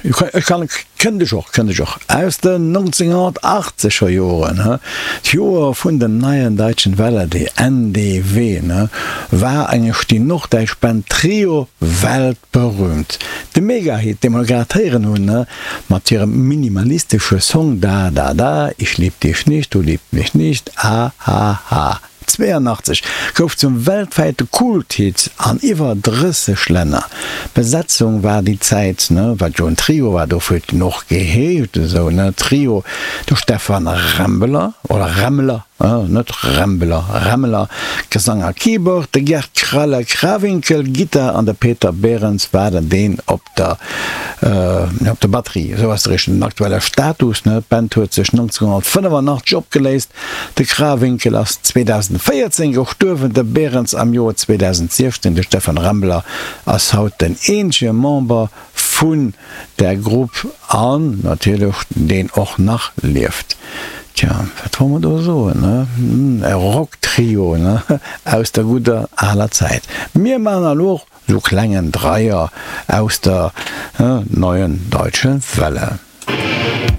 Ech kann, kënnt ech och, kënnt ech och. Aus den 1980er Joren, he, d'Joer vun den Neuen Deutschen Welle, déi NDW, ne, war engesch déi norddäitsch Band Trio weltberühmt. De Megahit, dee mer grad héieren hunn, ne, mat hirem minimalistesche Song Da da da, ich lieb dich nicht, du liebst mich nicht, ah ha ha. 82 gouf zum weltwäite Kulthit an iwwer 30 Länner. D'Besetzung war déi Zäit, ne, wat jo en Trio war, dofir huet en och geheescht esou, ne, Trio, de Stefan Rembeler, oder Remmler, net Rembeler, Remmeler, Gesang a Keyboard, de Gerd Kralle Krawinkel, Gittar, an de Peter Behrens war den deen op der op der Batterie. Esou ass de richtegen aktuelle Status, ne. D'Band huet sech 1985 opgeléist. De Krawinkel ass 2014 gestuerwen, de Behrens am Joer 2016. De Stefan Remmler ass haut den eenzege Member vun der Grupp an natierlech deen och nach lieft. Tja, wat wolle mer do soen, ne? E Rocktrio, ne, aus der gudder aler Zäit. Mir maachen elo och Sou klengen Dreier aus der Neuen Deutschen Welle.